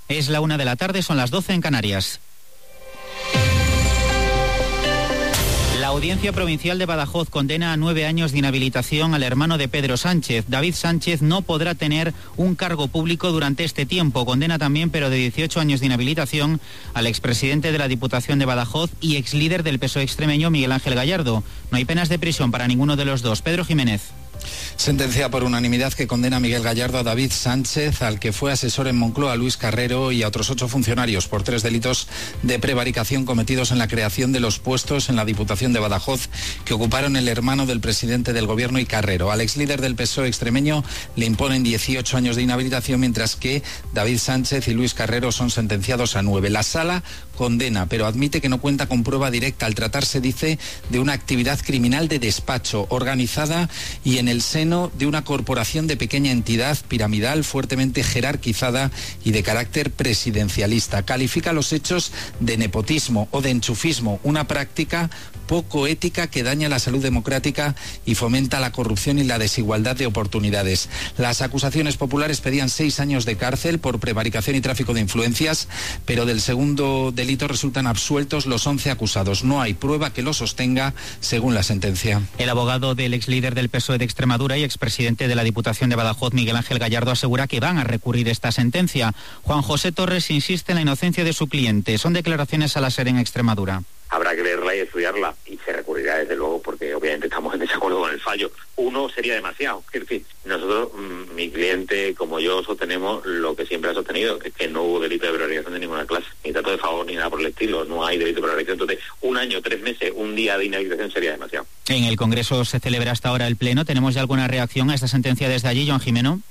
Es la 1 de la tarde, son las 12 en Canarias. La Audiencia Provincial de Badajoz condena a 9 años de inhabilitación al hermano de Pedro Sánchez. David Sánchez no podrá tener un cargo público durante este tiempo. Condena también, pero de 18 años de inhabilitación, al expresidente de la Diputación de Badajoz y exlíder del PSOE extremeño, Miguel Ángel Gallardo. No hay penas de prisión para ninguno de los dos. Pedro Jiménez. Sentencia por unanimidad que condena a Miguel Gallardo, a David Sánchez, al que fue asesor en Moncloa, a Luis Carrero, y a otros 8 funcionarios por 3 delitos de prevaricación cometidos en la creación de los puestos en la Diputación de Badajoz que ocuparon el hermano del presidente del Gobierno y Carrero. Al exlíder del PSOE extremeño le imponen 18 años de inhabilitación, mientras que David Sánchez y Luis Carrero son sentenciados a 9. La Sala condena, pero admite que no cuenta con prueba directa al tratarse, dice, de una actividad criminal de despacho organizada y en el seno de una corporación de pequeña entidad piramidal fuertemente jerarquizada y de carácter presidencialista. Califica los hechos de nepotismo o de enchufismo, una práctica poco ética que daña la salud democrática y fomenta la corrupción y la desigualdad de oportunidades. Las acusaciones populares pedían 6 años de cárcel por prevaricación y tráfico de influencias, pero del segundo delito resultan absueltos los 11 acusados. No hay prueba que lo sostenga, según la sentencia. El abogado del exlíder del PSOE de Extremadura y expresidente de la Diputación de Badajoz, Miguel Ángel Gallardo, asegura que van a recurrir esta sentencia. Juan José Torres insiste en la inocencia de su cliente. Son declaraciones a la SER en Extremadura. Habrá que leerla y estudiarla, y se recurrirá desde luego porque obviamente estamos en desacuerdo con el fallo. Uno sería demasiado. Es decir, nosotros, mi cliente como yo, sostenemos lo que siempre ha sostenido, que es que no hubo delito de prevaricación de ninguna clase, ni trato de favor ni nada por el estilo, no hay delito de prevaricación. Entonces, 1 año, 3 meses, un día de inhabilitación sería demasiado. En el Congreso se celebra hasta ahora el Pleno. ¿Tenemos ya alguna reacción a esta sentencia desde allí, Joan Jimeno?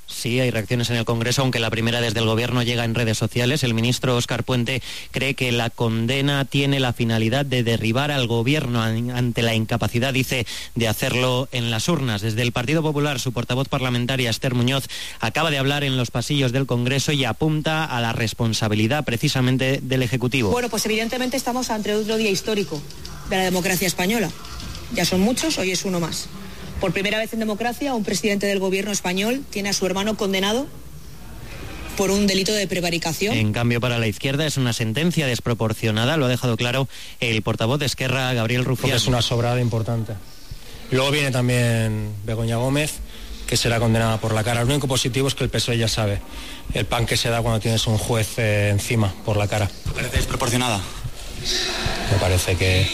Sí, hay reacciones en el Congreso, aunque la primera desde el Gobierno llega en redes sociales. El ministro Óscar Puente cree que la condena tiene la finalidad de derribar al Gobierno ante la incapacidad, dice, de hacerlo en las urnas. Desde el Partido Popular, su portavoz parlamentaria, Esther Muñoz, acaba de hablar en los pasillos del Congreso y apunta a la responsabilidad precisamente del Ejecutivo. Bueno, pues evidentemente estamos ante otro día histórico de la democracia española. Ya son muchos, hoy es uno más. Por primera vez en democracia, un presidente del Gobierno español tiene a su hermano condenado por un delito de prevaricación. En cambio, para la izquierda es una sentencia desproporcionada, lo ha dejado claro el portavoz de Esquerra, Gabriel Rufián. Es una sobrada importante. Luego viene también Begoña Gómez, que será condenada por la cara. Lo único positivo es que el PSOE ya sabe el pan que se da cuando tienes un juez encima por la cara. ¿Te parece desproporcionada? Me parece que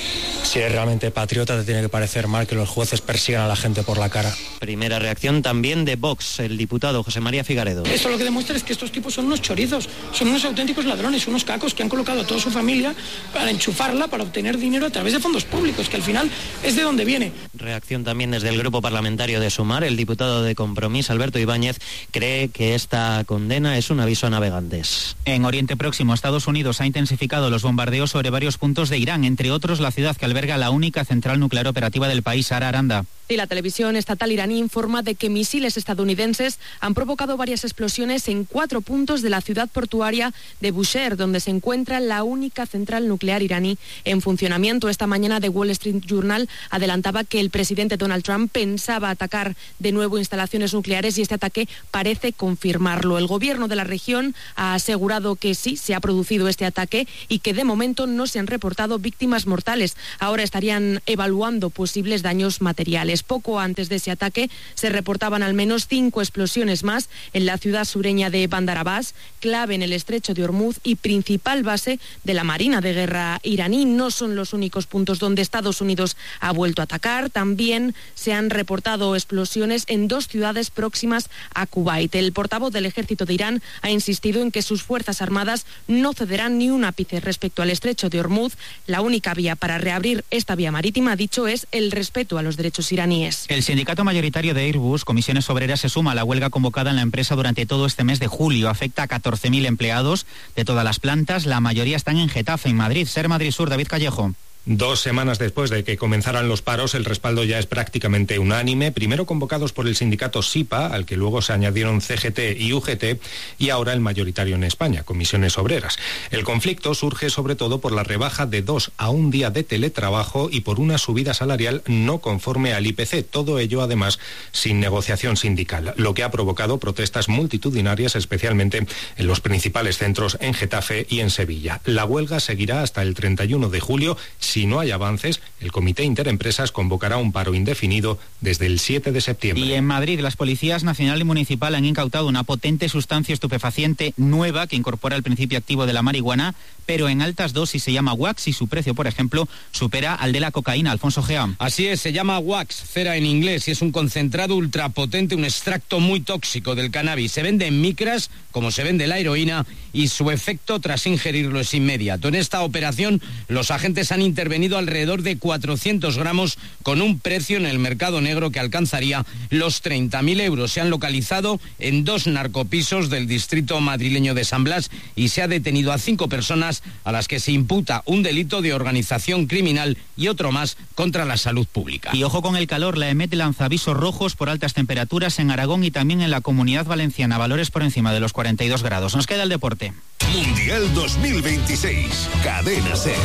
si eres realmente patriota te tiene que parecer mal que los jueces persigan a la gente por la cara. Primera reacción también de Vox, el diputado José María Figaredo. Esto lo que demuestra es que estos tipos son unos chorizos, son unos auténticos ladrones, unos cacos que han colocado a toda su familia para enchufarla, para obtener dinero a través de fondos públicos, que al final es de donde viene. Reacción también desde el grupo parlamentario de Sumar. El diputado de Compromís, Alberto Ibáñez, cree que esta condena es un aviso a navegantes. En Oriente Próximo, Estados Unidos ha intensificado los bombardeos sobre varios puntos de Irán, entre otros la ciudad que alberga la única central nuclear operativa del país, Sara Aranda. Y la televisión estatal iraní informa de que misiles estadounidenses han provocado varias explosiones en 4 puntos de la ciudad portuaria de Bushehr, donde se encuentra la única central nuclear iraní en funcionamiento. Esta mañana The Wall Street Journal adelantaba que el presidente Donald Trump pensaba atacar de nuevo instalaciones nucleares y este ataque parece confirmarlo. El gobierno de la región ha asegurado que sí, se ha producido este ataque y que de momento no se han reportado víctimas mortales. Ahora estarían evaluando posibles daños materiales. Poco antes de ese ataque se reportaban al menos 5 explosiones más en la ciudad sureña de Bandar Abbas, clave en el estrecho de Hormuz y principal base de la Marina de Guerra iraní. No son los únicos puntos donde Estados Unidos ha vuelto a atacar. También se han reportado explosiones en 2 ciudades próximas a Kuwait. El portavoz del ejército de Irán ha insistido en que sus fuerzas armadas no cederán ni un ápice respecto al estrecho de Hormuz. La única vía para reabrir esta vía marítima, ha dicho, es el respeto a los derechos iraníes. El sindicato mayoritario de Airbus, Comisiones Obreras, se suma a la huelga convocada en la empresa durante todo este mes de julio. Afecta a 14.000 empleados de todas las plantas. La mayoría están en Getafe, en Madrid. SER Madrid Sur, David Callejo. 2 semanas después de que comenzaran los paros, el respaldo ya es prácticamente unánime, primero convocados por el sindicato SIPA, al que luego se añadieron CGT y UGT, y ahora el mayoritario en España, Comisiones Obreras. El conflicto surge sobre todo por la rebaja de 2 a 1 día de teletrabajo y por una subida salarial no conforme al IPC, todo ello además sin negociación sindical, lo que ha provocado protestas multitudinarias, especialmente en los principales centros en Getafe y en Sevilla. La huelga seguirá hasta el 31 de julio. Si no hay avances, el Comité Interempresas convocará un paro indefinido desde el 7 de septiembre. Y en Madrid, las policías nacional y municipal han incautado una potente sustancia estupefaciente nueva que incorpora el principio activo de la marihuana, pero en altas dosis. Se llama wax y su precio, por ejemplo, supera al de la cocaína. Alfonso Gea. Así es, se llama wax, cera en inglés, y es un concentrado ultrapotente, un extracto muy tóxico del cannabis. Se vende en micras, como se vende la heroína, y su efecto tras ingerirlo es inmediato. En esta operación, los agentes han intervenido alrededor de 400 gramos con un precio en el mercado negro que alcanzaría los 30.000 euros. Se han localizado en 2 narcopisos del distrito madrileño de San Blas y se ha detenido a 5 personas a las que se imputa un delito de organización criminal y otro más contra la salud pública. Y ojo con el calor, la EMET lanza avisos rojos por altas temperaturas en Aragón y también en la Comunidad Valenciana, valores por encima de los 42 grados. Nos queda el deporte. Mundial 2026, Cadena SER.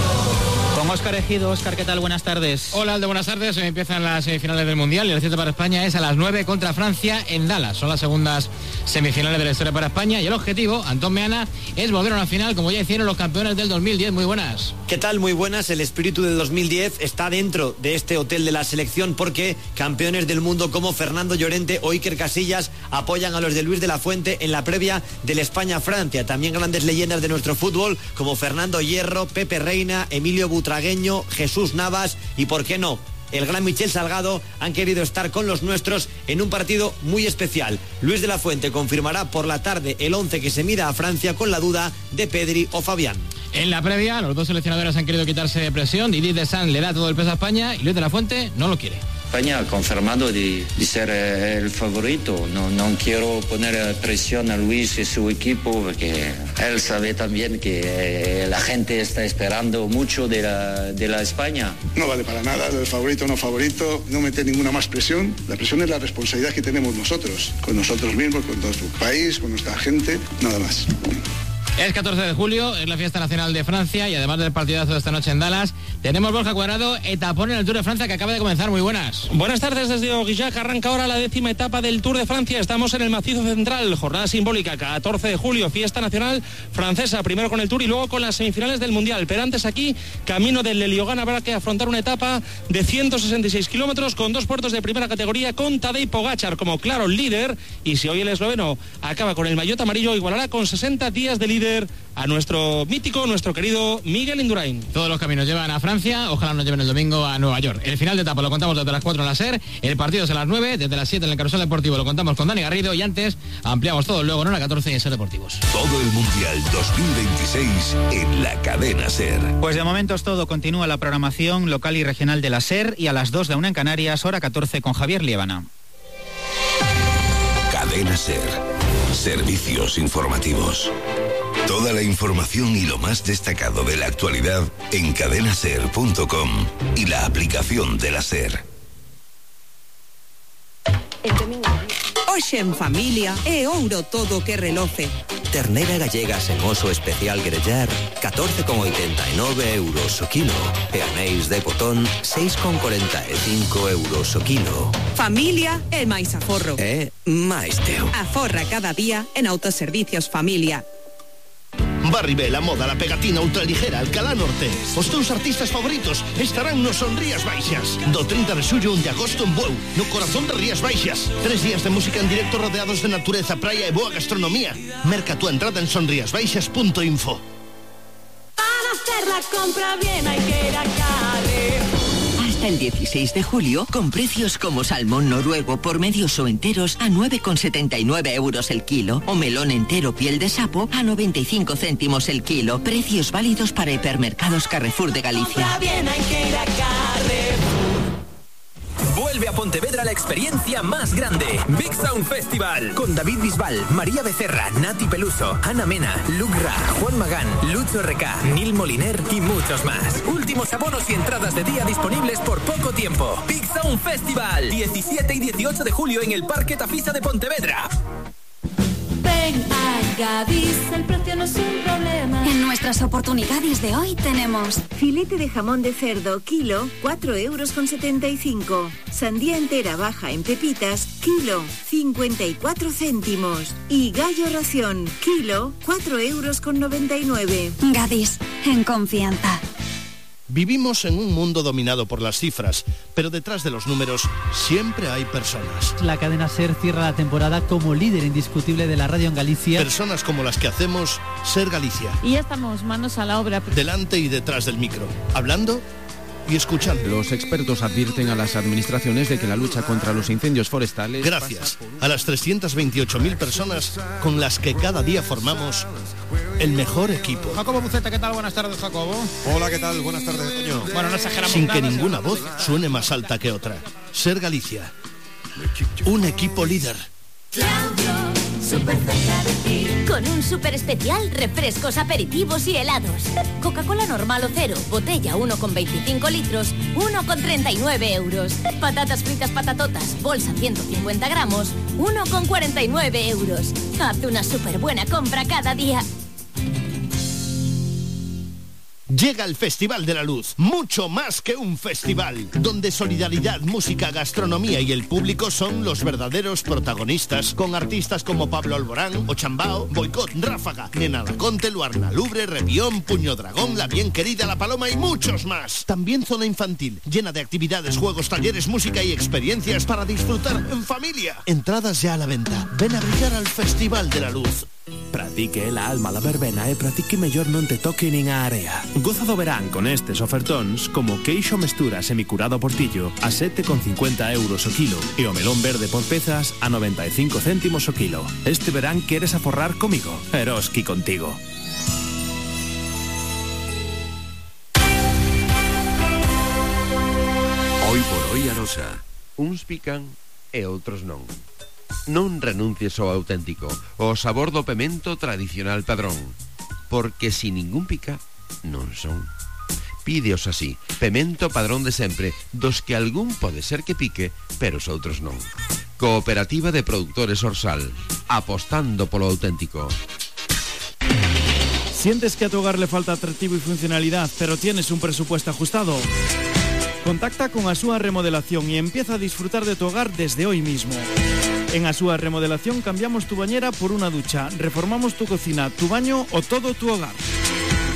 Con Óscar Ejido. Óscar, ¿qué tal? Buenas tardes. Hola, Aldo, buenas tardes. Hoy empiezan las semifinales del Mundial y el cierre para España es a las 9 contra Francia en Dallas. Son las segundas semifinales de la historia para España y el objetivo, Antón Meana, es volver a una final como ya hicieron los campeones del 2010. Muy buenas. ¿Qué tal? Muy buenas. El espíritu del 2010 está dentro de este hotel de la selección porque campeones del mundo como Fernando Llorente o Iker Casillas apoyan a los de Luis de la Fuente en la previa del España-Francia. También grandes leyendas de nuestro fútbol como Fernando Hierro, Pepe Reina, Emilio Butragueño, Jesús Navas y, ¿por qué no?, el gran Michel Salgado han querido estar con los nuestros en un partido muy especial. Luis de la Fuente confirmará por la tarde el 11 que se mira a Francia con la duda de Pedri o Fabián. En la previa, los dos seleccionadores han querido quitarse de presión. Didier Deschamps le da todo el peso a España y Luis de la Fuente no lo quiere. España ha confirmado de ser el favorito. No quiero poner presión a Luis y su equipo porque él sabe también que la gente está esperando mucho de la España. No vale para nada, el favorito o no favorito, no meter ninguna más presión. La presión es la responsabilidad que tenemos nosotros, con nosotros mismos, con nuestro país, con nuestra gente, nada más. Es 14 de julio, es la fiesta nacional de Francia y además del partidazo de esta noche en Dallas, tenemos Borja Cuadrado, etapón en el Tour de Francia que acaba de comenzar. Muy buenas. Buenas tardes desde Aurillac, arranca ahora la 10ª etapa del Tour de Francia. Estamos en el macizo central, jornada simbólica, 14 de julio, fiesta nacional francesa, primero con el Tour y luego con las semifinales del Mundial. Pero antes aquí, camino del Leliogán, habrá que afrontar una etapa de 166 kilómetros con 2 puertos de primera categoría, con Tadej Pogačar como claro líder, y si hoy el esloveno acaba con el maillot amarillo, igualará con 60 días de líder a nuestro mítico, nuestro querido Miguel Indurain. Todos los caminos llevan a Francia, ojalá nos lleven el domingo a Nueva York. El final de etapa lo contamos desde las 4 en la SER, el partido es a las 9, desde las 7 en el Carrusel Deportivo lo contamos con Dani Garrido y antes ampliamos todo luego en hora 14 en SER Deportivos. Todo el Mundial 2026 en la Cadena SER. Pues de momento es todo, continúa la programación local y regional de la SER y a las 2 de una en Canarias, hora 14 con Javier Liébana. Cadena SER, servicios informativos. Toda la información y lo más destacado de la actualidad en cadenaser.com y la aplicación de la SER. Hoxe en familia é ouro todo que reloce. Ternera gallega sen oso especial grellar, 14,89 euros o kilo. E anéis de botón, 6,45 euros o kilo. Familia é máis aforro. É máis teu. Aforra cada día en Autoservicios Familia. Barribé, la moda, la pegatina ultraligera, Alcalá Norte. Os teus artistas favoritos estarán nos Son Rías Baixas. Do 30 de xullo 1 de agosto en Bueu, no corazón de Rías Baixas. 3 días de música en directo rodeados de natureza, praia e boa gastronomía. Merca tu entrada en sonriasbaixas.info. Para hacer la compra bien hay que ir a Carre. Hasta el 16 de julio, con precios como salmón noruego por medios o enteros a 9,79 euros el kilo, o melón entero piel de sapo a 95 céntimos el kilo. Precios válidos para hipermercados Carrefour de Galicia. Compra bien hay que ir a Carre. Vuelve vuelve a Pontevedra la experiencia más grande. Big Sound Festival. Con David Bisbal, María Becerra, Nati Peluso, Ana Mena, Luke Ra, Juan Magán, Lucho RK, Neil Moliner y muchos más. Últimos abonos y entradas de día disponibles por poco tiempo. Big Sound Festival. 17 y 18 de julio en el Parque Tafisa de Pontevedra. Ven a Gadis, el precio no es un problema. En nuestras oportunidades de hoy tenemos filete de jamón de cerdo, kilo, 4,75 €. Sandía entera baja en pepitas, kilo, 54 céntimos. Y gallo ración, kilo, 4,99 €. Gadis, en confianza. Vivimos en un mundo dominado por las cifras, pero detrás de los números siempre hay personas. La cadena SER cierra la temporada como líder indiscutible de la radio en Galicia. Personas como las que hacemos SER Galicia. Y ya estamos manos a la obra. Delante y detrás del micro, hablando y escuchando. Los expertos advierten a las administraciones de que la lucha contra los incendios forestales... Gracias a las 328.000 personas con las que cada día formamos el mejor equipo. Jacobo Buceta, ¿qué tal? Buenas tardes, Jacobo. Hola, ¿qué tal? Buenas tardes, Toño. Bueno, no exageramos. Sin que ninguna voz suene más alta que otra. SER Galicia. Un equipo líder. Súper cerca de ti. Con un súper especial, refrescos, aperitivos y helados. Coca-Cola normal o cero, botella 1,25 litros, 1,39 €. Patatas fritas patatotas, bolsa 150 gramos, 1,49 €. Haz una súper buena compra cada día. Llega el Festival de la Luz, mucho más que un festival, donde solidaridad, música, gastronomía y el público son los verdaderos protagonistas, con artistas como Pablo Alborán, Ochambao, Boicot, Ráfaga, Nena Laconte, Luarna Lubre, Revión, Puño Dragón, La Bien Querida, La Paloma y muchos más. También zona infantil, llena de actividades, juegos, talleres, música y experiencias para disfrutar en familia. Entradas ya a la venta. Ven a brillar al Festival de la Luz. Pratique la alma la verbena e pratique mellor non te toque nin a area. Goza do verán con estes ofertóns como queixo mestura semicurado portillo a 7,50 € o kilo e o melón verde por pezas a 95 céntimos o kilo. Este verán queres aforrar comigo? Eroski contigo. Hoy por hoy Arosa. Uns pican e outros non. Non renuncies ao auténtico, ao sabor do pemento tradicional padrón, porque si ningún pica, non son. Pídeos así, pemento padrón de sempre, dos que algún pode ser que pique, pero os outros non. Cooperativa de Productores Orsal, apostando polo auténtico. ¿Sientes que a tu hogar le falta atractivo y funcionalidad, pero tienes un presupuesto ajustado? Contacta con Asúa Remodelación y empieza a disfrutar de tu hogar desde hoy mismo. En Asúa Remodelación cambiamos tu bañera por una ducha, reformamos tu cocina, tu baño o todo tu hogar.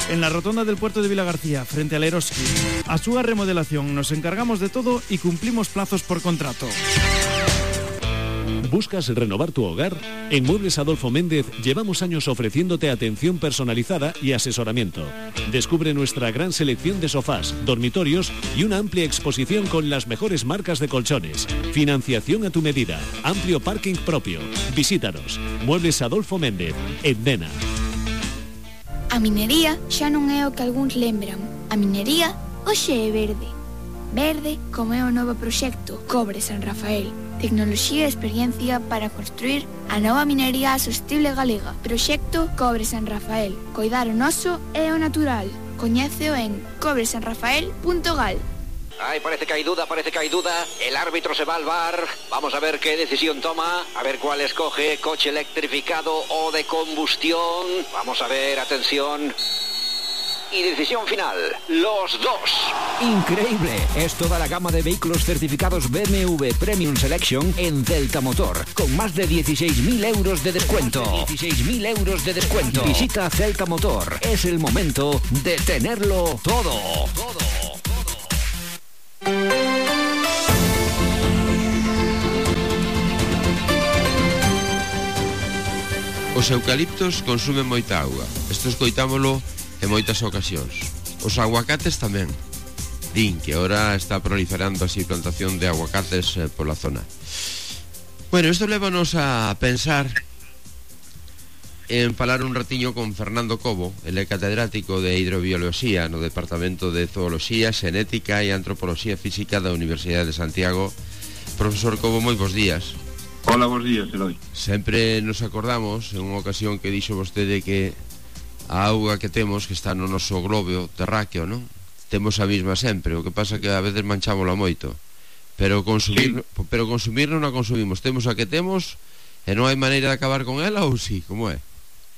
En la rotonda del puerto de Vilagarcía, frente al Eroski. Asúa Remodelación, nos encargamos de todo y cumplimos plazos por contrato. ¿Buscas renovar tu hogar? En Muebles Adolfo Méndez llevamos años ofreciéndote atención personalizada y asesoramiento. Descubre nuestra gran selección de sofás, dormitorios y una amplia exposición con las mejores marcas de colchones. Financiación a tu medida, amplio parking propio. Visítanos. Muebles Adolfo Méndez, en Dena. A minería xa non é o que algúns lembran. A minería hoxe é verde. Verde como é o novo proxecto Cobre San Rafael. Tecnoloxía e experiencia para construir a nova minería sostible galega. Proxecto Cobre San Rafael. Coidar o noso é o natural. Coñéceo en cobresanrafael.gal. Ay, parece que hay duda. El árbitro se va al bar. Vamos a ver qué decisión toma. A ver cuál escoge. Coche electrificado o de combustión. Vamos a ver, atención. Y decisión final, los dos. Increíble, es toda la gama de vehículos certificados BMW Premium Selection en Celta Motor, con más de 16.000 euros de descuento. 16.000 euros de descuento. Visita Celta Motor, es el momento de tenerlo todo. Os eucaliptos consumen moita auga. Isto escoitámolo en moitas ocasións. Os aguacates tamén. Din que ahora está proliferando así plantación de aguacates pola zona. Bueno, isto lévanos a pensar en falar un ratiño con Fernando Cobo. Ele é catedrático de hidrobioloxía no Departamento de Zooloxía, Xenética e Antropoloxía Física da Universidade de Santiago Profesor Cobo, moi bons días. Hola, bons días, Eloi. Sempre nos acordamos, en unha ocasión que dixo vostede que a auga que temos, que está no noso globo terráqueo, non? Temos a mesma sempre, o que pasa que a veces manchámola moito. Pero consumir non a consumimos. Temos a que temos e non hai maneira de acabar con ela, ou sí, como é?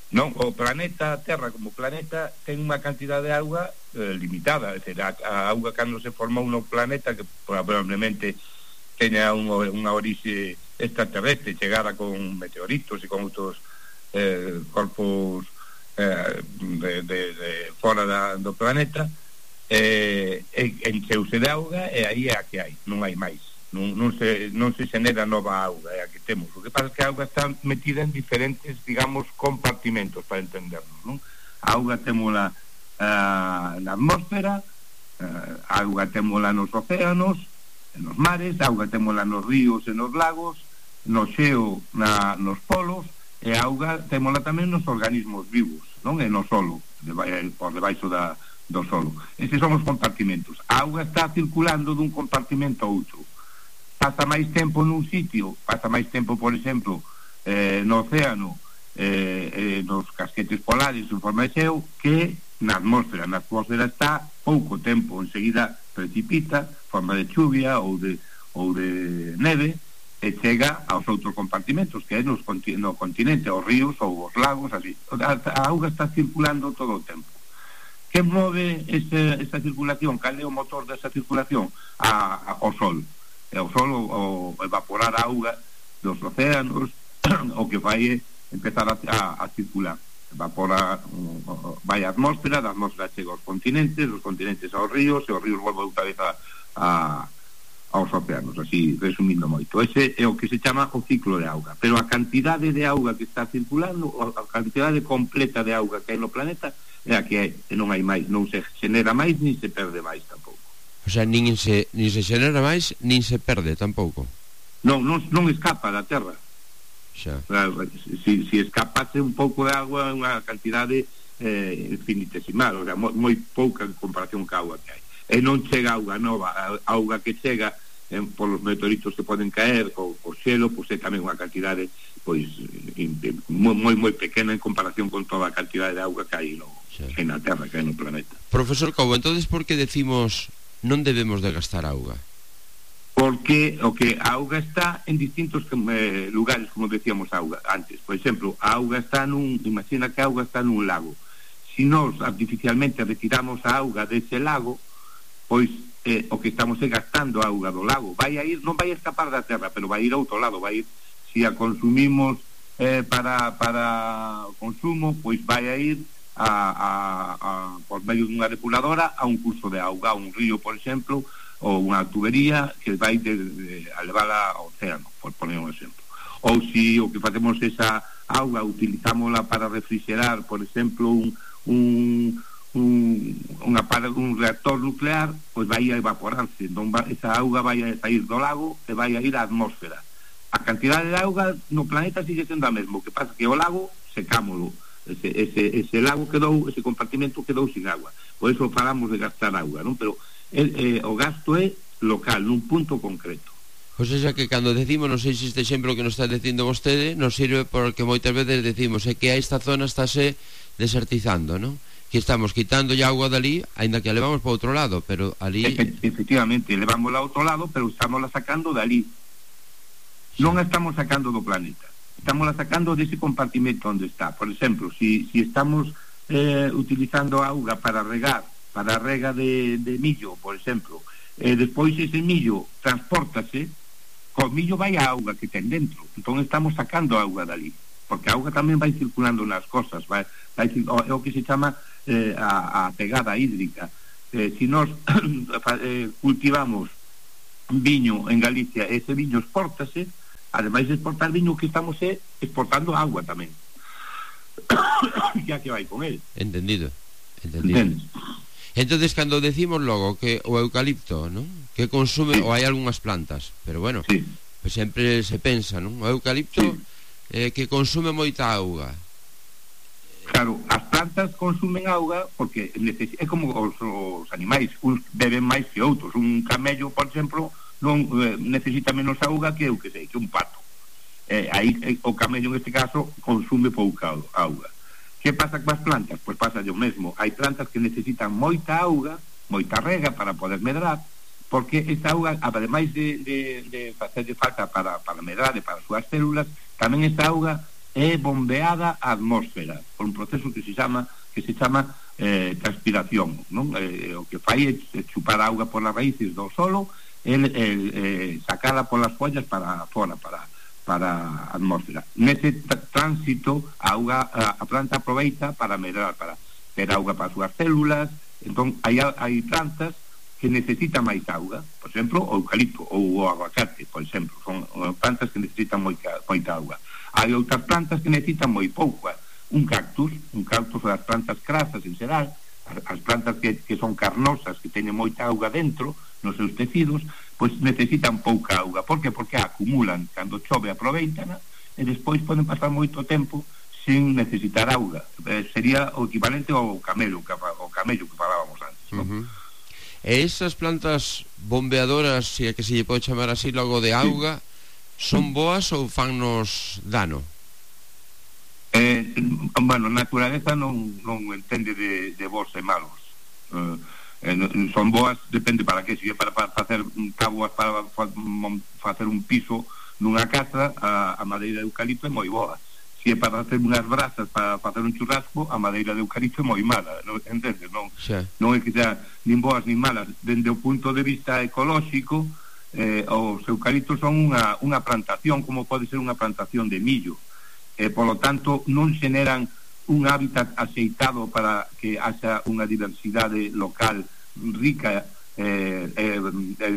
Non, o planeta Terra como planeta ten unha cantidad de auga limitada, é dicir, a auga cando se formou no planeta, que probablemente teña unha orixe extraterrestre, chegada con meteoritos e con outros corpos de fora do planeta, encheuse de auga e aí é a que hai, non hai máis. Non se xenera nova auga, é a que temos. O que pasa é que a auga está metida en diferentes, digamos, compartimentos, para entendernos, non? A auga témola na atmósfera, a auga témola nos océanos, nos mares, a auga témola nos ríos e nos lagos, no xeo, nos polos, e a auga témola tamén nos organismos vivos, non? E no solo, por debaixo do solo. Eses son os compartimentos. A auga está circulando dun compartimento a outro. Pasa máis tempo nun sitio, pasa máis tempo, por exemplo, no océano, nos casquetes polares en forma de xeo, que na atmósfera. Na atmósfera está pouco tempo, enseguida precipita, forma de chuvia ou de neve, e chega aos outros compartimentos, que é no continente, aos ríos ou aos lagos, así. A auga está circulando todo o tempo. Que move esa circulación? Cal é o motor desa circulación? O sol. E o sol, o evaporar a auga dos océanos, o que vai empezar a circular. Evapora, vai a atmósfera, da atmósfera chega aos continentes aos ríos, e os ríos volve outra vez aos océanos, así, resumindo moito. Ese é o que se chama o ciclo de auga. Pero a cantidade de auga que está circulando, a cantidade completa de auga que hai no planeta, é a que hai, e non hai máis, non se xenera máis, nin se perde máis tampouco. O sea, nin se xenera máis, nin se perde tampouco. Non escapa da Terra. Xa. Si escapase un pouco de agua, unha cantidade infinitesimal, o sea, moi pouca en comparación ca auga que hai. E non chega auga nova, a auga que chega polos meteoritos que poden caer, o xelo, pois é tamén unha cantidade pois moi pequena en comparación con toda a cantidade de auga que hai na Terra, que hai no planeta. Profesor Cobo, entonces por que decimos non debemos de gastar auga? Porque a auga está en distintos lugares, como decíamos antes. Por exemplo, a auga está imagina que a auga está nun lago. Si nós artificialmente retiramos a auga dese lago, pois o que estamos é gastando a auga do lago. Non vai a escapar da Terra, pero vai ir a outro lado, vai ir, si a consumimos para consumo, pois vai a ir por medio dunha depuradora a un curso de auga, a un río, por exemplo, ou unha tubería que vai a levala ao océano, por poner un exemplo. Ou si o que facemos esa auga utilizámola para refrigerar, por exemplo, un reactor nuclear, pois vai a evaporarse, entón esa auga vai a sair do lago e vai a ir á atmósfera. A cantidade de auga no planeta sigue sendo a mesma, o que pasa que o lago secámolo, ese lago quedou, ese compartimento quedou sin agua, por eso falamos de gastar auga, non? Pero o gasto é local, nun punto concreto. O sea que cando decimos, non sei se este exemplo que nos está dicindo vostede, nos sirve porque moitas veces decimos que a esta zona estáse desertizando, non? Que estamos quitando ya agua dali, ainda que a levamos para outro lado, pero ali... Efectivamente, levámosla a outro lado, pero estámosla sacando dali. Non a estamos sacando do planeta, estámosla sacando dese compartimento onde está. Por exemplo, si estamos utilizando auga para regar, para a rega de millo, por exemplo, despois ese millo transpórtase, co millo vai a auga que ten dentro, entón estamos sacando auga dali, porque a auga tamén vai circulando nas cosas, é o que se chama a pegada hídrica. Si nós cultivamos viño en Galicia, ese viño exportase, ademais de exportar viño, que estamos exportando agua tamén, ya que vai con él. Entendido. Entonces, cando decimos logo que o eucalipto, ¿no?, que consume, ou hai algunhas plantas, pero bueno, pues sempre se pensa, ¿no?, o eucalipto que consume moita auga. Claro, as plantas consumen auga porque é como os animais, uns beben máis que outros. Un camello, por exemplo, non necesita menos auga que eu que sei, que un pato. Aí o camello neste caso consume pouca auga. Que pasa coas plantas? Pois pasa o mesmo. Hai plantas que necesitan moita auga, moita rega para poder medrar, porque esta auga, ademais de facerlle falta para medrar e para as súas células, tamén esta auga é bombeada á atmósfera por un proceso que se chama transpiración, non? O que fai é chupar auga por as raíces do solo e sacala polas follas para fora, para a atmósfera. Nese tránsito a planta aproveita para medrar, para ter auga para as súas células. Entón hai plantas que necesitan máis auga, por exemplo o eucalipto ou o aguacate, por exemplo, son plantas que necesitan moita auga. Hai outras plantas que necesitan moi pouco. Un cactus das plantas crasas en xeral, as plantas que son carnosas, que teñen moita auga dentro nos seus tecidos, pois necesitan pouca auga. Por que? Porque acumulan, cando chove aproveitana e despois poden pasar moito tempo sin necesitar auga. Sería o equivalente ao camello que falábamos antes, non? E esas plantas bombeadoras, se é que se lle pode chamar así, logo de auga, son boas ou fannos dano? Bueno, a naturaleza non entende de bons e malos. Son boas, depende para que. Se é para facer táboas, para facer un piso nunha casa, a madeira de eucalipto é moi boa. Se é para facer unhas brasas, para facer un churrasco, a madeira de eucalipto é moi mala, entendes? Non é que sea nin boas nin malas. Dende o punto de vista ecolóxico, os eucaliptos son unha plantación, como pode ser unha plantación de millo. Polo tanto, non xeneran un hábitat aceitado para que haxa unha diversidade local rica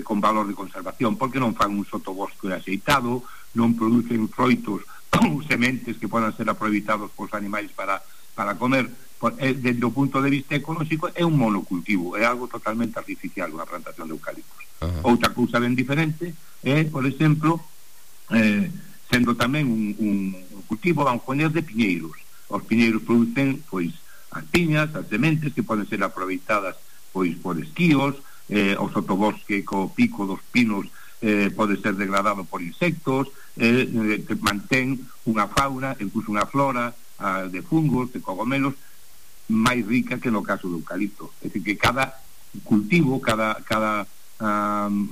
con valor de conservación, porque non fan un sotobosque aceitado, non producen froitos ou sementes que podan ser aproveitados polos animais para comer. Desde o punto de vista ecolóxico é un monocultivo, é algo totalmente artificial unha plantación de eucaliptos. Outra cousa ben diferente é, por exemplo, sendo tamén un cultivo, vamos poñer, de piñeiros. Os piñeiros producen, pois, as piñas, as sementes que poden ser aproveitadas, pois, por esquíos. O sotobosque co pico dos pinos pode ser degradado por insectos, que mantén unha fauna, incluso unha flora de fungos, de cogomelos máis rica que no caso do eucalipto. É dicir, que cada cultivo, cada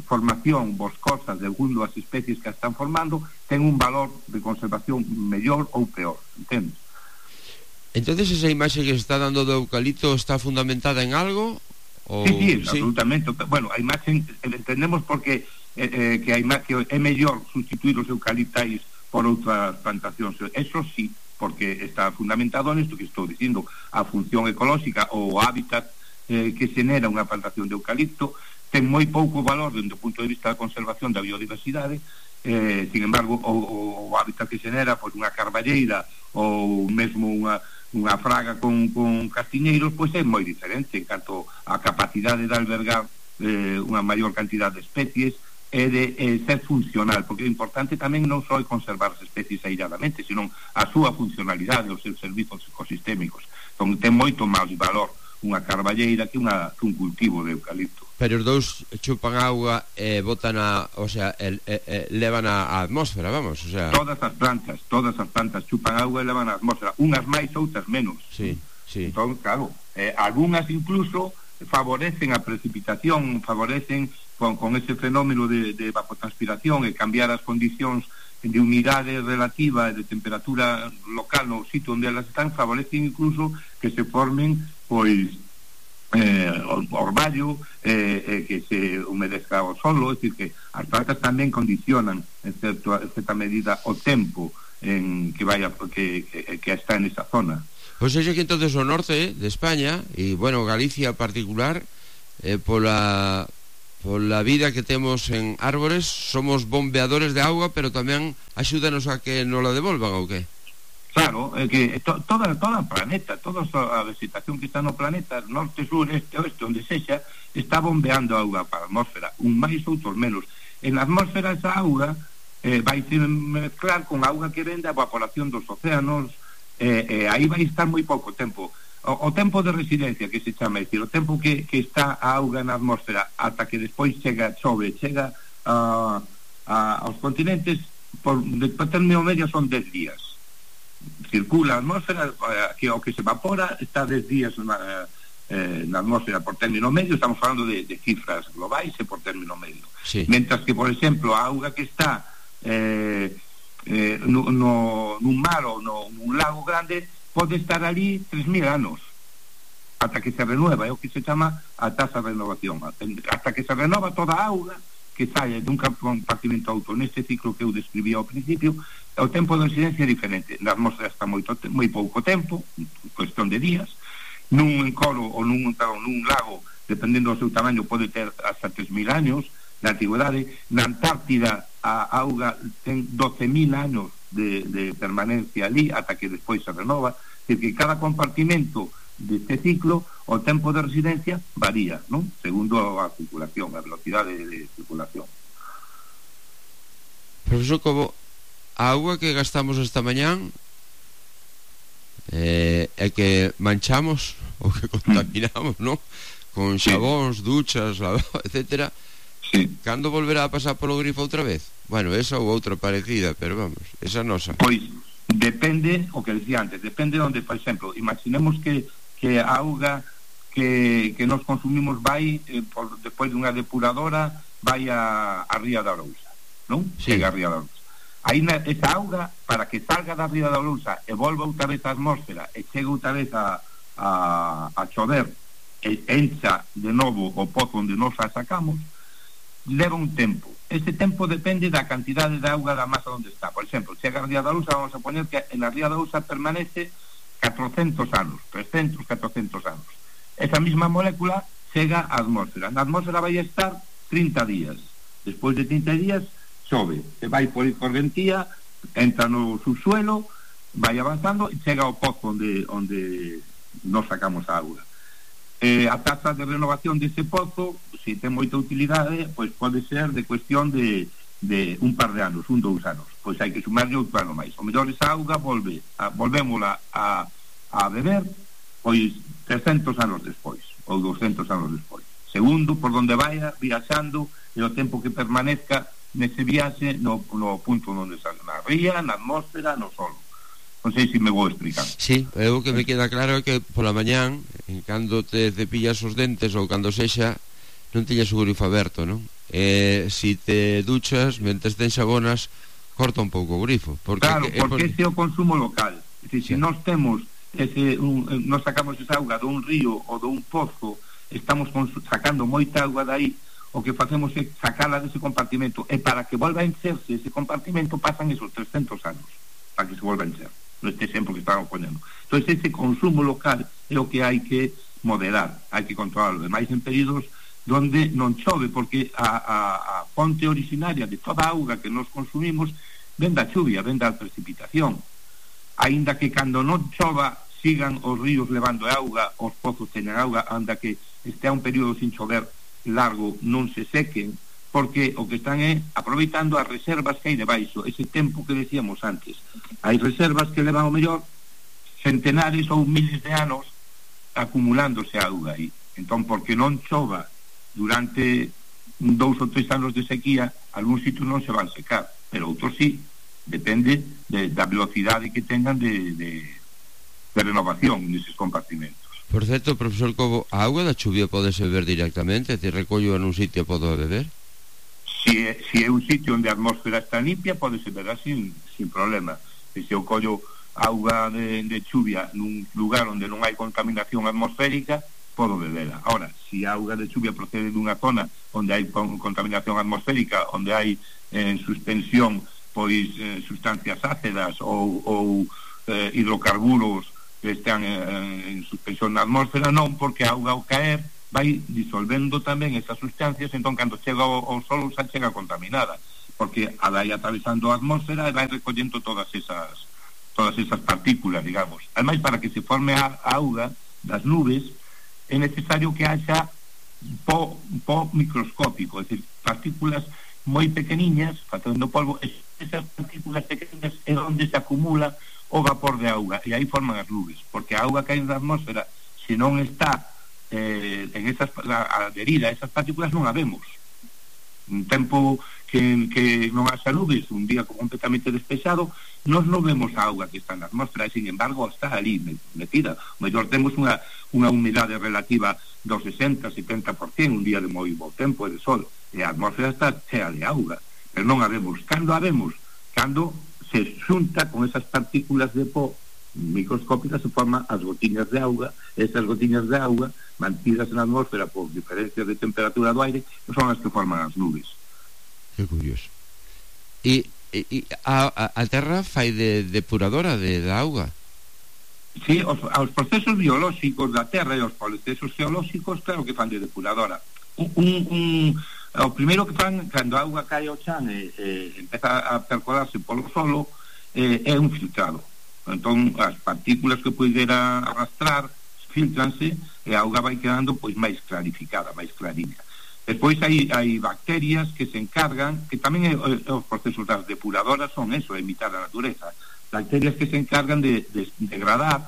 formación boscosa de segundo as especies que están formando ten un valor de conservación mellor ou peor, entendes? Entonces esa imaxe que se está dando do eucalipto está fundamentada en algo? Sí, absolutamente. Bueno, a imaxe entendemos porque que é mellor sustituir os eucaliptais por outras plantacións. Eso sí, porque está fundamentado nesto que estou dicindo, a función ecolóxica ou o hábitat que xenera unha plantación de eucalipto ten moi pouco valor dentro do punto de vista da conservación da biodiversidade. Sin embargo, o hábitat que xenera, pois, unha carballeira ou mesmo unha fraga con castiñeiros, pois é moi diferente en canto a capacidade de albergar unha maior cantidad de especies e de ser funcional, porque o importante tamén non só é conservar as especies ailladamente, senón a súa funcionalidade, os seus servizos ecosistémicos. Entón ten moito máis valor unha carballeira que un cultivo de eucalipto. Pero os dous chupan auga e botan levan a atmósfera, vamos, o sea... Todas as plantas chupan auga e levan a atmósfera, unhas máis, outras menos. Sí. Entón, claro, algunhas incluso favorecen a precipitación, favorecen con ese fenómeno de evapotranspiración e cambiar as condicións de humidade relativa e de temperatura local no sitio onde elas están, favorecen incluso que se formen, pois, orvallo, que se humedezca o solo. É dicir, que as plantas tamén condicionan en certa medida o tempo en que está en esa zona. Pois é que entonces o norte de España e, bueno, Galicia en particular, pola vida que temos en árbores, somos bombeadores de auga, pero tamén axúdanos a que nos la devolvan, ou que? Claro, é que toda o planeta, toda a vegetación que está no planeta, norte, sur, este, oeste, onde sexa, está bombeando auga para a atmósfera, un máis, outros menos. En a atmósfera esa auga vai se mezclar con auga que vende a evaporación dos océanos, aí vai estar moi pouco tempo. O tempo de residencia, que se chama, é dicir, o tempo que está a auga na atmósfera ata que despois chega aos continentes por término medio son 10 días. Circula a atmósfera, que o que se evapora está 10 días na atmósfera por término medio. Estamos falando de cifras globais e por término medio. Sí. Mentras que, por exemplo, a auga que está nun mar ou nun lago grande pode estar ali 3.000 anos ata que se renueva, é o que se chama a taxa de renovación, ata que se renova toda a auga que saia dun compartimento a outro. Neste ciclo que eu describí ao principio, o tempo de residencia é diferente. Na atmósfera está moi pouco tempo, cuestión de días. Nun encoro ou nun lago, dependendo do seu tamaño, pode ter hasta 3.000 anos na antigüedade. Na Antártida a auga ten 12.000 anos de permanencia ali ata que despois se renova. É dicir, que cada compartimento deste ciclo o tempo de residencia varía, non? Segundo a circulación, a velocidade de circulación. Profesor Cobo, a auga que gastamos esta mañán é que manchamos ou que contaminamos, non? Con xabóns, duchas, etcétera. Sí. Cando volverá a pasar polo grifo outra vez? Bueno, esa ou outra parecida, pero vamos, esa nosa. Pois depende, o que decía antes, depende onde, por exemplo, imaginemos que a auga que nos consumimos vai despois dunha depuradora vai a Ría da Arousa, non? Sí. Chega a Ría da Arousa. Aí esa auga, para que salga da Ría da Arousa e volva outra vez á atmósfera e chega outra vez a chover e encha de novo o pozo onde nos a sacamos, leva un tempo. Ese tempo depende da cantidade de auga da masa onde está. Por exemplo, chega a Ría da Arousa, vamos a poner que en la Ría da Arousa permanece 400 anos, 300, 400 anos. Esa mesma molécula chega á atmósfera. Na atmósfera vai estar 30 días. Despois de 30 días sobe, e vai por correntía, entra no subsuelo, vai avanzando e chega ao pozo onde nos sacamos a auga. A taxa de renovación dese pozo, se ten moita utilidade, pois pode ser de cuestión de un par de anos, 2 anos. Pois hai que sumarlle outro ano máis. O mellor esa auga volvémola a beber pois 300 anos despois ou 200 anos despois, segundo por donde vaya viaxando e o tempo que permanezca nese viaxe no punto onde sale, na ría, na atmósfera, no solo. Non sei se me vou explicar. Sí, o que me queda claro é que pola mañán, en cando te cepillas os dentes ou cando sexa, non teñas o grifo aberto, non? Si te duchas, mentes ten xabonas, corta un pouco o grifo. Claro, porque ese é o consumo local. Se nós temos nós sacamos esa auga dun río ou dun pozo, estamos sacando moita auga dai, o que facemos é sacala dese compartimento, e para que volva a encherse ese compartimento pasan esos 300 anos para que se volva a encher, neste exemplo que estamos ponendo. Entón ese consumo local é o que hai que moderar, hai que controlarlo, e máis en períodos donde non chove, porque a fonte originaria de toda a auga que nos consumimos ven da chuvia, ven da precipitación. Aínda que cando non chova sigan os ríos levando auga, os pozos teñen auga, anda que estea un período sin chover largo non se sequen, porque o que están é aproveitando as reservas que hai debaixo, ese tempo que decíamos antes. Hai reservas que levan o mellor centenares ou miles de anos acumulándose auga aí. Entón, porque non chova durante 2 ou 3 anos de sequía, algún sitio non se van secar, pero outros sí. Depende da velocidade que tengan de renovación neses compartimentos. Por certo, profesor Cobo, a auga da chuvia pode se beber directamente? Te recollo en un sitio e podo beber? Si é un sitio onde a atmósfera está limpia, pode se beber sin problema. Se eu collo auga de chuvia nun lugar onde non hai contaminación atmosférica, podo bebela. Ahora, se a auga de chuvia procede dunha zona onde hai contaminación atmosférica, onde hai en suspensión pois sustancias ácidas ou hidrocarburos que están en suspensión na atmósfera, non, porque a auga ao caer vai disolvendo tamén esas sustancias, entón cando chega ao solo xa chega contaminada, porque a vai atravesando a atmósfera e vai recollendo todas esas partículas, digamos. Ademais, para que se forme a auga das nubes é necesario que haxa po microscópico, é dicir, partículas moi pequeniñas, facendo polvo. Esas partículas pequenas é onde se acumula o vapor de auga, e aí forman as nubes, porque a auga que hai na atmósfera, se non está adherida a esas partículas, non a vemos. Un tempo que non haxa nubes, un día completamente despexado, nós non vemos a auga que está na atmósfera, e, sin embargo, está ali metida. O mellor temos unha humidade relativa do 60-70%, un día de moi bo tempo e de sol, e a atmósfera está chea de auga, pero non a vemos. Cando a vemos? Cando se xunta con esas partículas de pó microscópicas, se forman as gotiñas de auga. Esas gotiñas de auga, mantidas na atmósfera por diferencias de temperatura do aire, son as que forman as nubes. Que curioso. E a Terra fai de depuradora da auga? Sí, os procesos biolóxicos da Terra e os procesos geolóxicos, claro que fan de depuradora. O primeiro que fan, cando a auga cae ao chan e empeza a percolarse polo solo, é un filtrado. Entón, as partículas que poidera arrastrar filtranse e a auga vai quedando pois máis clarificada, máis clariña. Despois hai bacterias que se encargan, que tamén os procesos das depuradoras son eso, imitar a natureza, bacterias que se encargan de degradar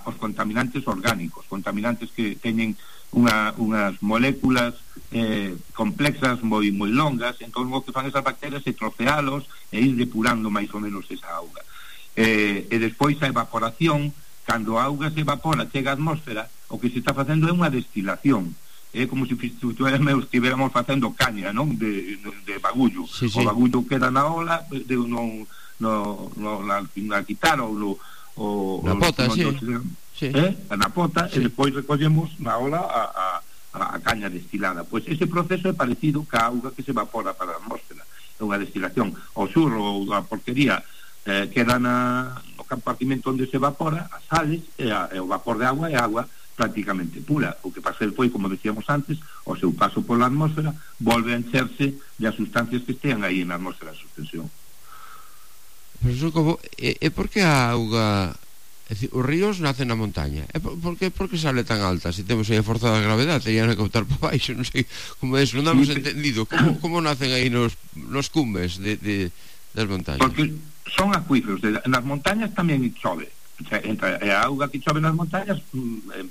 os contaminantes orgánicos, contaminantes que teñen unhas moléculas complexas moi longas. Entón o que fan esas bacterias é trocealos e ir depurando máis ou menos esa auga. E despois a evaporación, cando a auga se evapora, chega á atmósfera, o que se está facendo é unha destilación. É como se estiveramos facendo caña, non? De bagullo. Sí. O bagullo queda na ola, na guitarra ou na pota, sí. Na pota, e despois recollemos na ola a caña destilada. Pois ese proceso é parecido ca auga que se evapora para a atmósfera. É unha destilación. O xurro ou a porquería queda no compartimento onde se evapora, as sales, e o vapor de agua é agua prácticamente pura. O que pasa foi, como decíamos antes, o seu paso pola atmósfera volve a encherse das sustancias que estean aí na atmósfera de suspensión. Pero eso como por que a auga, é dicir, os ríos nacen na montaña? Por que sale tan alta? Se temos aí a forza da gravedade, terían que botar para baixo, non sei como é eso, non damos entendido como nacen aí nos cumes das montañas. Porque son acuíferos, nas montañas tamén chove. A auga que chove nas montañas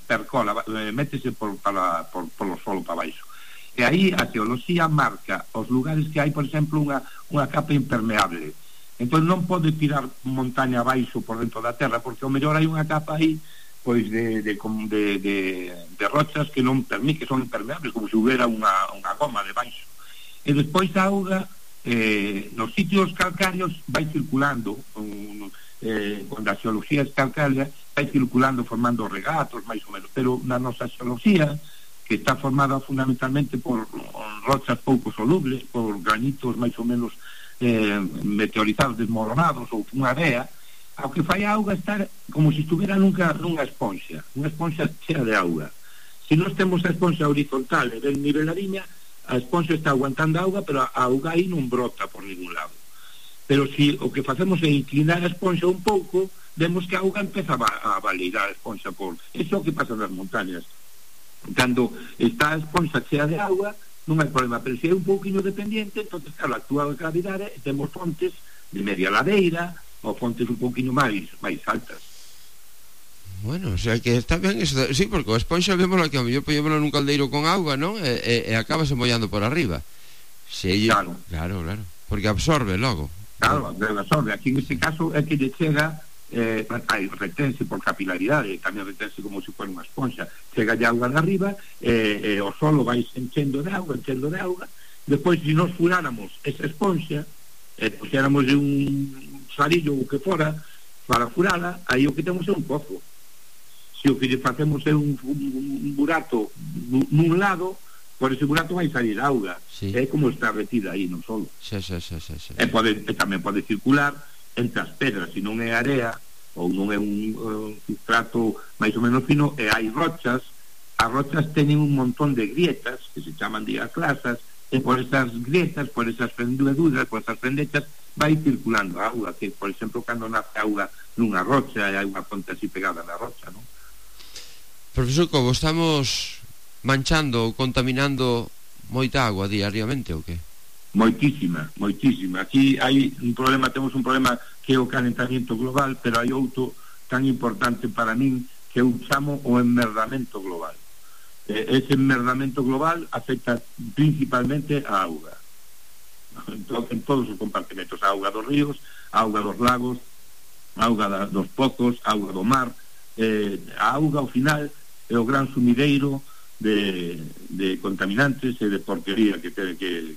percola, métese polo solo para baixo, e aí a geoloxía marca os lugares que hai, por exemplo, unha capa impermeable. Entón non pode tirar montaña abaixo por dentro da terra, porque ao mellor hai unha capa aí pois de rochas que non permite, que son impermeables, como se houbera unha goma debaixo. E despois a auga nos sitios calcáreos vai circulando, cando a xeoloxía é calcárea, vai circulando formando regatos máis ou menos, pero na nosa xeoloxía, que está formada fundamentalmente por rochas pouco solubles, por granitos máis ou menos meteorizados desmoronados ou unha area, ao que fai a auga estar como se estuvera nunha esponxa chea de auga. Se nós temos a esponxa horizontal e ben niveladiña, a esponxa está aguantando auga, pero a auga aí non brota por ningún lado. Pero se o que facemos é inclinar a esponxa un pouco, vemos que a auga empeza a valeirar a esponxa por... Eso é o que pasa nas montañas. Cando está a esponxa chea de auga, non hai problema, pero se é un pouquinho dependiente, entonces, claro, actúa a gravidade e temos fontes de media ladeira ou fontes un pouquinho máis altas. Bueno, o sea que está ben eso, sí, porque a esponxa vémola que ao mellor poñémola nun caldeiro con auga, non? E acabase mollando por arriba. Claro, porque absorbe logo. Claro, absorbe. Aquí en este caso é que lle chega, retense por capilaridade, tamén retense como se fuera unha esponxa, chega de auga de arriba, o solo vai enchendo de auga, despois se nos furáramos esa esponxa, puxéramos de un sarillo ou que fora para furala, aí o que temos é un pozo. Se o que lle facemos é un burato nun lado, por ese burato vai salir auga, sí. É como está retida aí no solo. Sí. E tamén pode circular entre as pedras, se non é area ou non é un substrato máis ou menos fino, e hai rochas. As rochas teñen un montón de grietas que se chaman diaclasas, e por esas grietas, por esas fenduras, por esas fendechas vai circulando a auga, que por exemplo cando nace auga nunha rocha e hai unha fonte así pegada na rocha, non? Profesor Cobo, estamos manchando ou contaminando moita agua diariamente ou que? Moitísima. Aquí hai un problema, temos un problema que é o calentamiento global, pero hai outro tan importante para min que eu chamo o enmerdamento global. Ese enmerdamento global afecta principalmente a auga. en todos os compartimentos, a auga dos ríos, a auga dos lagos, a auga dos pozos, a auga do mar. A auga ao final é o gran sumideiro de contaminantes e de porquería que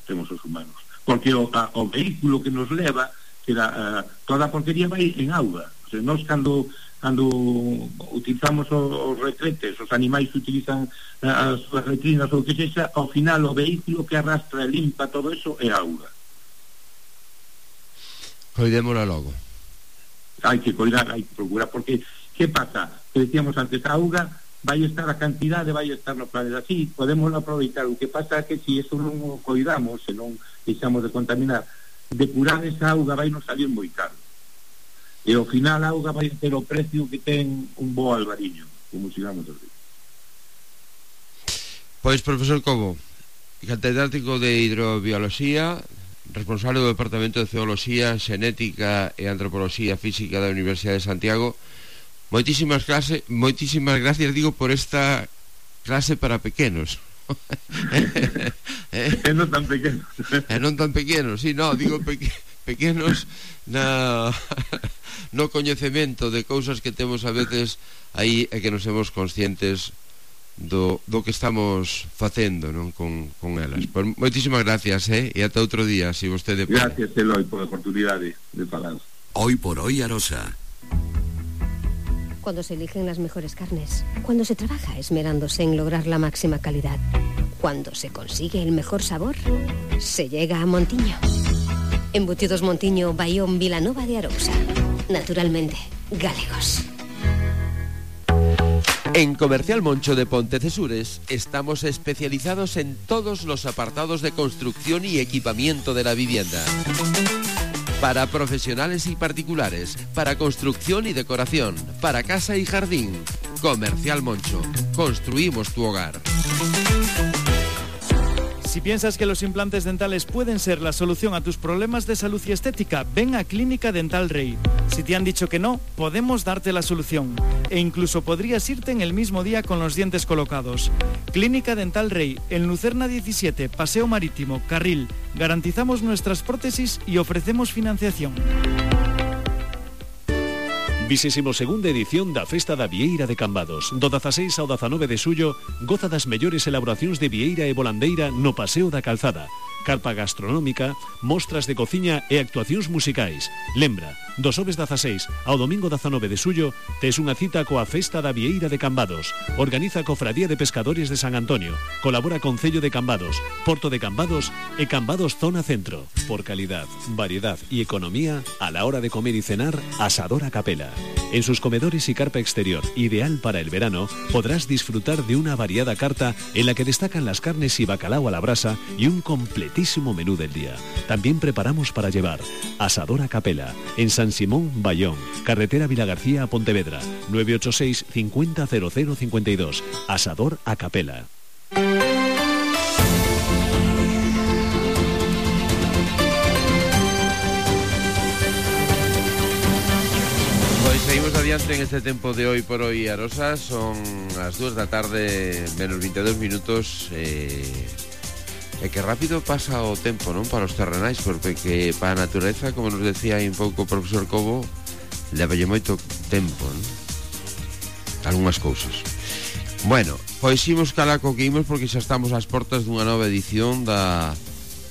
temos os humanos, porque o vehículo que nos leva, toda a porquería vai en auga. O sea, nós cando utilizamos os retretes, os animais que utilizan as súas letrinas ou que sexa, ao final o vehículo que arrastra e limpa todo eso é auga. Coidémola logo. Hai que coidar, hai que procurar, porque que pasa? Que decíamos antes, a auga vai estar, a cantidade vai estar no planeta, sí, podemos aproveitar. O que pasa é que se eso non o coidamos, se non deixamos de contaminar, depurar esa auga vai nos salir moi caro. E ao final a auga vai ter o precio que ten un bo albariño, como sigamos a ver. Pois, profesor Cobo, catedrático de hidrobioloxía, responsable do Departamento de Zooloxía, Xenética e Antropoloxía Física da Universidade de Santiago, moitísimas gracias, digo, por esta clase para pequenos. E non tan pequenos. E non tan pequenos, sí, no, digo pequenos no coñecemento de cousas que temos a veces aí e que non somos conscientes do que estamos facendo, non, con elas. Pues, moitísimas gracias, e ata outro día, se vostede pode. Gracias, Eloi, por a oportunidade de falar. Hoy por hoy, Arosa. Cuando se eligen las mejores carnes, cuando se trabaja esmerándose en lograr la máxima calidad, cuando se consigue el mejor sabor, se llega a Montiño. Embutidos Montiño, Bayón, Vilanova de Arousa. Naturalmente, galegos. En Comercial Moncho de Pontecesures estamos especializados en todos los apartados de construcción y equipamiento de la vivienda. Para profesionales y particulares, para construcción y decoración, para casa y jardín. Comercial Moncho. Construimos tu hogar. Si piensas que los implantes dentales pueden ser la solución a tus problemas de salud y estética, ven a Clínica Dental Rey. Si te han dicho que no, podemos darte la solución. E incluso podrías irte en el mismo día con los dientes colocados. Clínica Dental Rey, en Lucerna 17, Paseo Marítimo, Carril. Garantizamos nuestras prótesis y ofrecemos financiación. 22ª edición da Festa da Vieira de Cambados. Do 16 ao 19 de xullo, goza das mellores elaboracións de vieira e volandeira no Paseo da Calzada. Carpa gastronómica, mostras de cociña e actuacións musicais. Lembra, do xoves 16 ao domingo 19 de xullo, tes unha cita coa Festa da Vieira de Cambados. Organiza Cofradía de Pescadores de San Antonio. Colabora Concello de Cambados, Porto de Cambados e Cambados Zona Centro. Por calidad, variedad y economía, a la hora de comer y cenar, Asador a Capela. En sus comedores y carpa exterior, ideal para el verano, podrás disfrutar de una variada carta en la que destacan las carnes y bacalao a la brasa y un completísimo menú del día. También preparamos para llevar. Asador a Capela, en San Simón, Bayón, carretera Vilagarcía a Pontevedra, 986 50 0052. Asador a Capela. Seguimos adiante en este tempo de hoy por hoy, Arosa. Son as 2 da tarde menos 22 minutos. Que rápido pasa o tempo, non? Para os terrenais, porque que para a natureza, como nos decía aí un pouco o profesor Cobo, levalle moito tempo, non? Algunhas cousas. Bueno, pois imos calaco que imos, porque xa estamos ás portas dunha nova edición da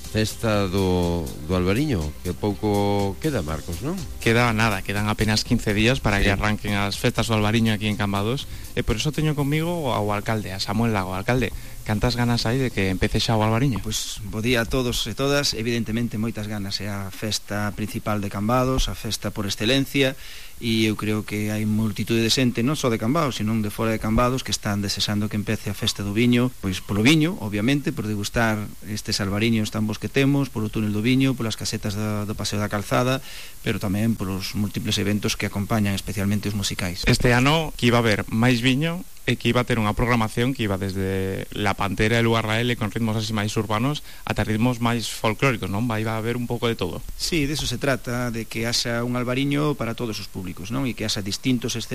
Festa do Albariño, que pouco queda, Marcos, non? Queda nada, quedan apenas 15 días para que arranquen as festas do Albariño aquí en Cambados, e por eso teño conmigo ao alcalde, a Samuel Lago. Alcalde, cantas ganas hai de que empece xa o Albariño? Pois bo día a todos e todas, evidentemente moitas ganas, é a festa principal de Cambados, a festa por excelencia, e eu creo que hai multitude de xente, non só de Cambados, sino de fora de Cambados, que están desexando que empece a festa do viño, pois polo viño, obviamente, por degustar estes albariños tan bons que temos, polo túnel do viño, polas casetas do Paseo da Calzada, pero tamén polos múltiples eventos que acompañan, especialmente os musicais. Este ano que iba a haber máis viño e que iba a ter unha programación que iba desde La Pantera e Lugarrael con ritmos así máis urbanos ata ritmos máis folclóricos, non? Vai a haber un pouco de todo. Sí, de eso se trata, de que haxa un albariño para todos os públicos, non? E que haxa distintos escenarios